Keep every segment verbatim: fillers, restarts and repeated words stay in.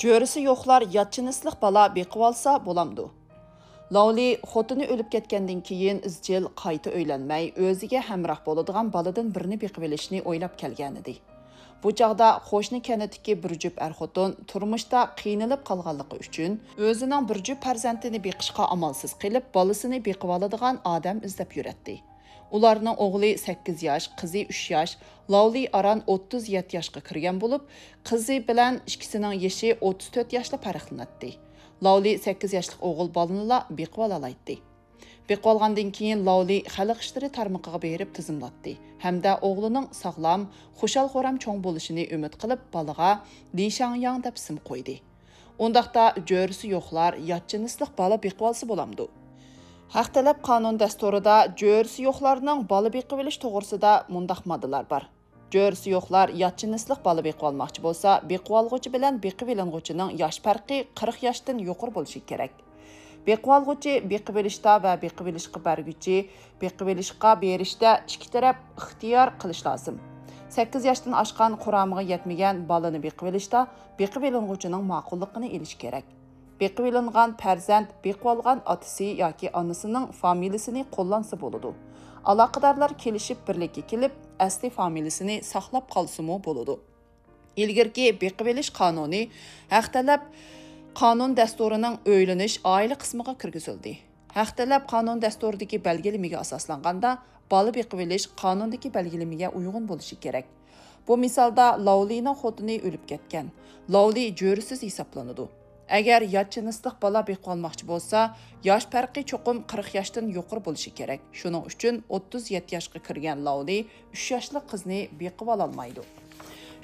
جۆرىسى يوقلار يات جىنسلىق بالا بېقىۋالسا بولامدۇ؟ لاۋلى خوتۇنى ئۆلۈپ كەتكەندىن كېيىن ئىزچىل قايتا ئۆيلەنمەي، ئۆزىگە ھەمراھ بولىدىغان بالىدىن بىرنى بېقىۋېلىشنى ئويلاپ كەلگەنىدى. بۇ چاغدا قوشنا كەنتتىكى بىر جۈپ ئەر-خوتۇن تۇرمۇشتا قىينىلىپ قالغانلىقى ئۈچۈن، ئۆزىنىڭ بىر جۈپ پەرزەنتىنى بېقىشقا ئامالسىز قېلىپ، بالىسىنى بېقىۋالىدىغان ئادەم ئىزدەپ يۈرەتتى. ئۇلارنىڭ ئوغلى سەككىز ياش، قىزى ئۈچ ياش، لاۋلى ئاران ئوتتۇز يەتتە ياشقا كىرگەن بولۇپ، قىزى بىلەن ئىككىسىنىڭ يېشى ئوتتۇز تۆت ياشلا پەرقلىنەتتى. لاۋلى سەككىز ياشلىق ئوغۇل بالىنىلا بېقىۋالالايتتى. بېقىۋالغاندىن كېيىن لاۋلى خەلق ئىشلىرى تارمىقىغا بېرىپ تىزىملاتتى ھەمدە ئوغلىنىڭ ساغلام، خۇشال-خۇرام چوڭ بولۇشىنى ئۈمىد قىلىپ، بالىغا لى شاڭياڭ دەپ ئىسىم قويدى. ئۇنداقتا جۆرىسى يوقلار يات جىنسلىق بالا بېقىۋالسا بولامدۇ؟ ھەق تەلەپ قانۇن دەستۇرىدا جۆرىسى يوقلارنىڭ بالا بېقىۋېلىش توغرىسىدا مۇنداق ماددىلار بار. جۆرىسى يوقلار يات جىنسلىق بالا بېقىۋالماقچى بولسا، بېقىۋالغۇچى بىلەن بېقىۋېلىنغۇچىنىڭ ياش پەرقى قىرىق ياشتىن يۇقىرى بولۇشى كېرەك. بېقىۋالغۇچى بېقىۋېلىشتا ۋە بېقىۋېلىشقا بەرگۈچى بېقىۋېلىشقا بېرىشتە ئىككى تەرەپ ئىختىيار قىلىش لازىم. سەككىز ياشتىن ئاشقان، قۇرامىغا يەتمىگەن بالىنى بېقىۋېلىشتا بېقىۋېلىنغۇچىنىڭ ماقۇللۇقىنى ئېلىش كېرەك. بېقىۋېلىنغان پەرزەنت بېقىۋالغان ئاتىسى ياكى ئانىسىنىڭ فامىلىسىنى قوللانسا بولىدۇ. ئالاقىدارلار كېلىشىپ بىرلىككە كېلىپ، ئەسلى فامىلىسىنى ساقلاپ قالسىمۇ بولىدۇ. ئىلگىرىكى بېقىۋېلىش قانۇنى ھەق تەلەپ قانۇن دەستۇرىنىڭ ئۆيلىنىش ئائىلە قىسمىغا كىرگۈزۈلدى. ھەق تەلەپ قانۇن دەستۇرىدىكى بەلگىلىمىگە ئاساسلانغاندا، بالا بېقىۋېلىش قانۇندىكى بەلگىلىمىگە ئۇيغۇن بولۇشى كېرەك. بۇ مىسالدا لاۋلىنىڭ خوتۇنى ئۆلۈپ كەتكەن. لاۋلى جۆرىسىز ھېسابلىنىدۇ. ئەگەر يات جىنسلىق بالا بېقىۋالماقچى بولسا، ياش پەرقى چوقۇم قىرىق ياشتىن يۇقىرى بولۇشى كېرەك. شۇنىڭ ئۈچۈن ئوتتۇز يەتتە ياشقا كىرگەن لاۋلى ئۈچ ياشلىق قىزنى بېقىۋالالمايدۇ.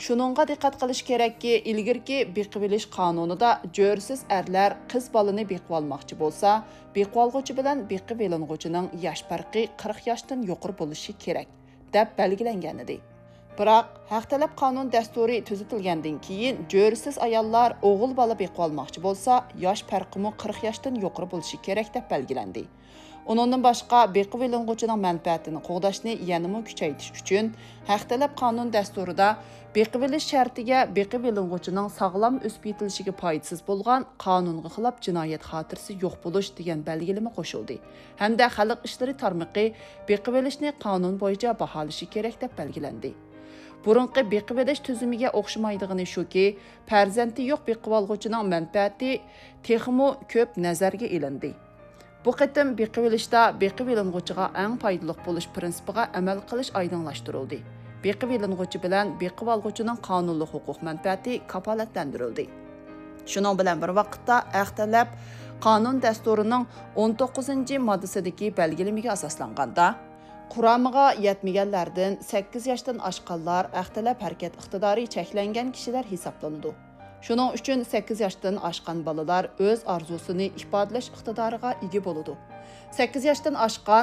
شۇنىڭغا دىققەت قىلىش كېرەككى، ئىلگىرىكى بېقىۋېلىش قانۇنىدا جۆرىسىز ئەرلەر قىز بالىنى بېقىۋالماقچى بولسا، بېقىۋالغۇچى بىلەن بېقىۋېلىنغۇچىنىڭ ياش پەرقى قىرىق ياشتىن يۇقىرى بولۇشى كېرەك، دەپ بەلگىلەنگەنىدى. بىراق، ھەق تەلەپ قانۇن دەستۇرى تۈزىتىلگەندىن كېيىن، جۆرىسىز ئاياللار ئوغۇل بالا بېقىۋالماقچى بولسا، ياش پەرقىمۇ قىرىق ياشتىن يۇقىرى بولۇشى كېرەك، دەپ بەلگىلەندى. ئۇنىڭدىن باشقا، بېقىۋېلىنغۇچىنىڭ مەنپەئەتىنى قوغداشنى يەنىمۇ كۈچەيتىش ئۈچۈن، ھەق تەلەپ قانۇن دەستۇرىدا بېقىۋېلىش شەرتىگە بېقىۋېلىنغۇچىنىڭ ساغلام ئۆسۈپ يېتىلىشىگە پايدىسىز بولغان، قانۇنغا خىلاپ جىنايەت خاتىرىسى يوق بولۇش دېگەن بەلگىلىمە قوشۇلدى ھەمدە خەلق ئىشلىرى تارمىقى بېقىۋېلىشنى قانۇن بويىچە باھالىشى كېرەك، دەپ بەلگىلەندى. بۇرۇنقى بېقىۋېلىش تۈزۈمىگە ئوخشىمايدىغىنى شۇكى، پەرزەنتى يوق بېقىۋالغۇچىنىڭ مەنپەئەتى تېخىمۇ كۆپ نەزەرگە ئېلىندى. بۇ قېتىم بېقىۋېلىشتا بېقىۋېلىنغۇچىغا ئەڭ پايدىلىق بولۇش پىرىنسىپىغا ئەمەل قىلىش ئايدىڭلاشتۇرۇلدى. بېقىۋېلىنغۇچى بىلەن بېقىۋالغۇچىنىڭ قانۇنلۇق ھوقۇق مەنپەئەتى كاپالەتلەندۈرۈلدى. شۇنىڭ بىلەن بىر ۋاقىتتا، ھەق تەلەپ قانۇن دەستۇرىنىڭ ئون توققۇزىنچى ماددىسىدىكى بەلگىلىمىگە ئاساسلانغاندا، قۇرامىغا يەتمىگەنلەردىن سەككىز ياشتىن ئاشقانلار ھەق تەلەپ ھەرىكەت ئىقتىدارى چەكلەنگەن كىشىلەر ھېسابلىنىدۇ. شۇنىڭ ئۈچۈن سەككىز ياشتىن ئاشقان بالىلار ئۆز ئارزۇسىنى ئىپادىلەش ئىقتىدارىغا ئىگە بولىدۇ. سەككىز ياشتىن ئاشقان،